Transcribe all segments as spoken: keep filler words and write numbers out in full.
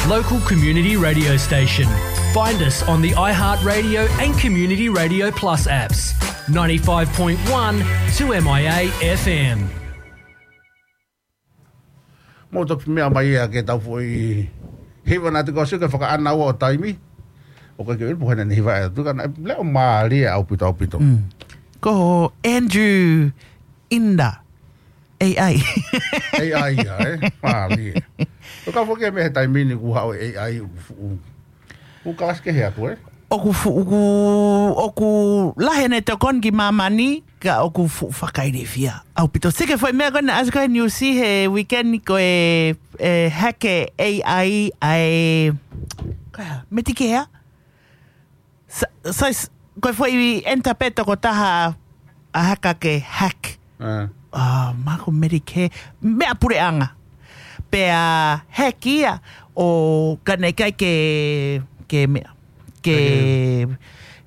local community radio station. Find us on the iHeartRadio and Community Radio Plus apps. Ninety-five point one two M I A F M. Mo toki meʻa mai ia ke tau foʻi hiva naʻa te kau sio ke fakaʻana ua ʻo taimi. ʻOku ʻikai ke ʻilo pe ko hai naʻa ne hiva atu ka naʻe leʻo mālie ʻaupito ʻaupito. Mm. Ko Andrew Inda. A I. A I ia, ē? Mālie. Ko ka foki mei he taimi ni kuo haʻu A I ʻoku fuʻu. ʻOku kalasi kehe atu, ē? ʻOku fuʻu, ʻoku, ʻoku lahi ʻene tokoni ki māmani, ka ʻoku fuʻu fakailifia. ʻAupito sike foʻi meʻa ko ena ʻasi ko e news he weekend ko e, e hake A I ʻa e, ko e hā, Medicare? Sa, sa, ko e foʻi enter pē tokotaha ʻa e haka ke hack. Ah. Ah, mako Medicare, meʻa puleʻanga. Pea hack ia ʻo ka naʻe ʻikai ke, ke meʻa. Ke,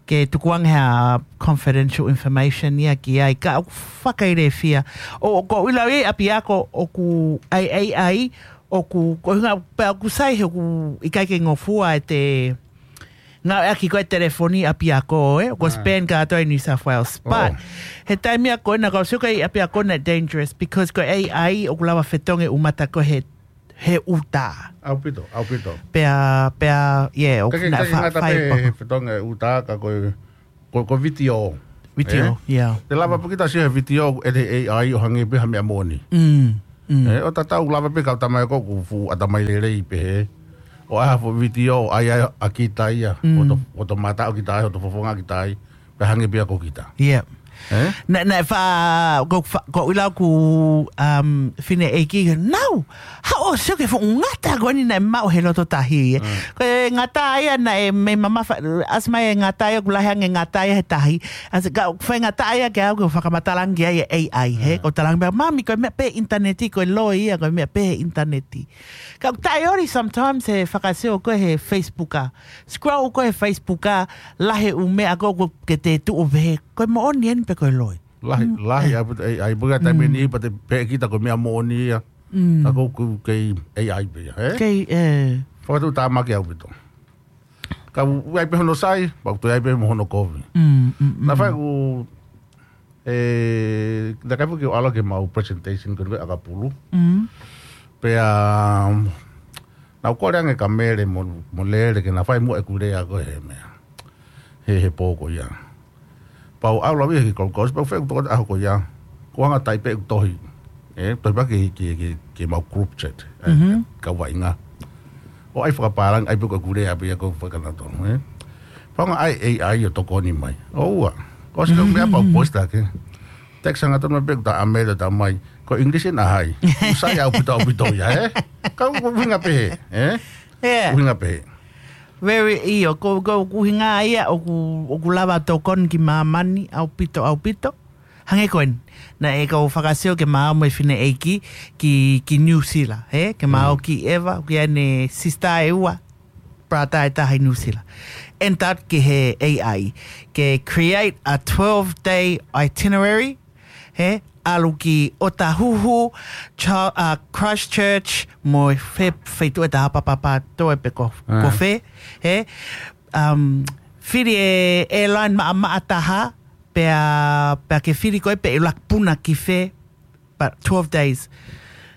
ke tukuange ha confidential information ia ki ai. Ka ʻoku fakailifia. ʻO, ko e ʻuhinga ia ʻapiako ʻoku ʻai, ʻai, ʻai, ʻoku, ko e ʻuhinga pea ʻoku sai he ʻoku ʻikai ke ngofua e te, ngāueʻaki ko e telefoni ʻapiako, ē? Ko e Ah. spam kātoa ʻi New South Wales. But, Oh. he taimi ia ko ena kau sio ko e ʻapiako naʻe dangerous because ko e A I ʻoku lava fetongi ʻumata ko e he, he uta. ʻAupito, ʻaupito. Pea, pea, yeah, ʻoku Ka ke, naʻe ka ke fa-, ngata fai pē pako. he fetongi uta ka ko e, ko, ko e vitiō. Vitiō, Ē? yeah. Te lava pē kita sio he vitiō ʻe he A I ʻo hangē pē ha meʻa moʻoni. Mm, mm. Ē, ʻo tatau lava pē kau tamai ko ʻoku fuʻu ʻatamai lelei pē he. ʻO ʻai ha fuʻu vitiō, ʻai ai ʻa kita ia. Mm. ʻO to, ʻo to mata ʻo kita ai, ʻo to fofonga kita ai. Pea hangē pē ia ko kita. Yeah. Ē? Naʻe, naʻe fa, ko fa, ko ʻuhinga ʻoku, um, fineʻeiki, nau, haʻu ʻo sio ki he fuʻu ngata ko eni naʻe maʻu he loto tahi, ē. Mm. Ko e ngata ia naʻe mei mamafa, ʻasi mai e ngata ia ʻoku lahi ange ngata ia he tahi. ʻAsi ka, fai ngata ia ke au ke fakamatala ange ai e A I, he. Mm. ʻO tala ange pē, mami, ko e meʻa pē ʻinitaneti, ko e loi ia, ko e meʻa pē ʻinitaneti. Ka ʻoku taʻeoli sometimes he fakasio ko e he Facebook ā. Scroll ko e he Facebook ā, lahi e ʻū meʻa ko ʻoku ke te tuʻu pē he. Ko e moʻoni eni pe ko e loi. Lahi, Mm, lahi ē. ʻaupito A I, puka taimi Mm. ni pea te pehē kita ko e meʻa moʻoni ia. Mm. Ka ko ʻoku kei A I pē ia, ē? Kei, ē. Fakatuʻutāmaki ʻaupito. Ka u, u ai pē hono sai, pea u toe ai pē mo hono kovi. Mm, mm, mm. Naʻa faʻa ku, ē, naʻa kai foki ʻo ʻalu ke mau presentation ko e ʻakapulu. Mm. Pea, um, naʻa ku kole ange kia Mele mo, mo Lele ke na fai muʻa ʻeku lea ko e he meʻa. He, he pō ko ia. Pea u ʻalu au ia ki he Gold Coast, pea u fai ʻeku tokotaha ko ia. Ko e anga tai pē ʻeku tohi. Ē, tohi pē ki, ki, ki, ki mau group chat. Ē, Mhm. kau vaʻinga. ʻO ʻai fakapālangi, ʻai pē ko ʻeku lea pē ia ko e fakatonutonu, ē. Pea u hanga ʻe he A I ʻo tokoni mai. ʻOua. Ko e ʻosi ko e meʻa pea u post ake. Text hangatonu mai pē ʻeku tā ʻa Mele ʻo tā mai. Ko e English ʻena hai. ʻOku sai ʻaupito ʻaupito ia, ē. Ka ʻoku ʻuhinga pehē, ē. Yeah. ʻUhinga pehē. Very ʻio, ko, ko, ko e ʻuhinga ia ʻoku, ʻoku lava tokoni ki māmani, ʻaupito, ʻaupito. Hangē ko eni, naʻe kau fakasio ke mau mo e fineʻeiki ki, ki New Zealand, he? Ke mau Mm. ki Eva, ki ʻene sister ʻe ua, brother ʻe taha ʻi New Zealand. Enter ki he A I, ke create a twelve day itinerary, he? ʻAlu ki Otahuhu, Cha-, uh, Christchurch, mo e fe-, feituʻu ʻe taha Papatoetoe pe ko, Ah. ko fē, he? Um, fili e airline maʻamaʻa taha, pea, pea ke fili koe pe ʻe ʻuluaki puna ki fē, but twelve days.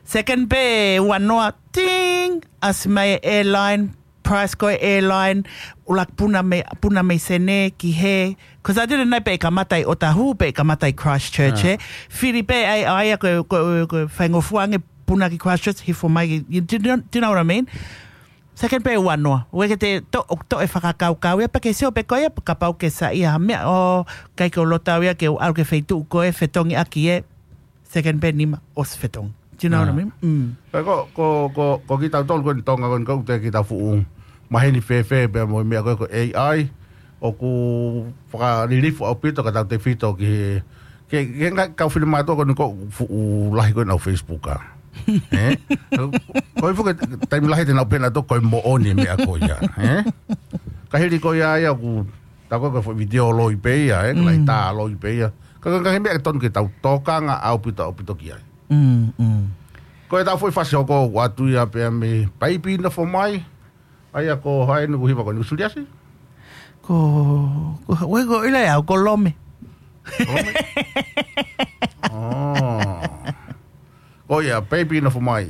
Second pē ua noa, ting, ʻasi mai e airline, price ko e airline, ʻuluaki puna mei, puna mei Senē ki hē. Cause I didn't know pe ʻe kamata ʻi Otahuhu, pe ʻe kamata ʻi Christchurch, Ah. he. Fili pē ai, ai, ko, ko, ko, faingofua ange puna ki Christchurch, hifo mai ki, you, do you know, do you know what I mean? Second pē ua noa. Ue ke te to, to e fakakaukau ia, pea ke sio pē ko ia, kapau ke saiʻia ha meʻa ʻoku ʻikai ke u loto au ia ke u ʻalu ki he feituʻu ko e fetongi ʻaki e second pē nima ʻosi fetongi. Do you know what I Ah. mean? Mm. Pea ko, ko, ko, ko kitautolu ko eni Tonga ko eni ko ʻete kita fuʻu maheni fēfē pea mo e meʻa ko e ko e A I, ʻoku fakalilifu ʻaupito ka tau tefito ki he, ke, ke ngaahi kau finemātuʻa ko eni ko e fuʻu lahi ko eni ʻenau Facebook ā. Ē? Ko e fuʻu taimi lahi te nau pehē nautolu ko e moʻoni e meʻa ko ia. Ē? Ka hili ko ia ia ʻoku tā ko e ko e foʻi vitiō loi pē ia, ē? Ka lahi Mm. tā loi pē ia. Ka, ka, ka he meʻa ke tonu ke tau tokanga ʻaupito, ʻaupito ki ai. Mm, mm. Ko e tau foʻi fasi hoko ʻoatu ia pea mei paipi nofo mai, ʻAia, ko hai ʻoku hiva ko eni, ko Suliasi? Ko, ko, ue ko ila ya, ko Lome. Lome? Oh. Ko ia, baby nofo mai.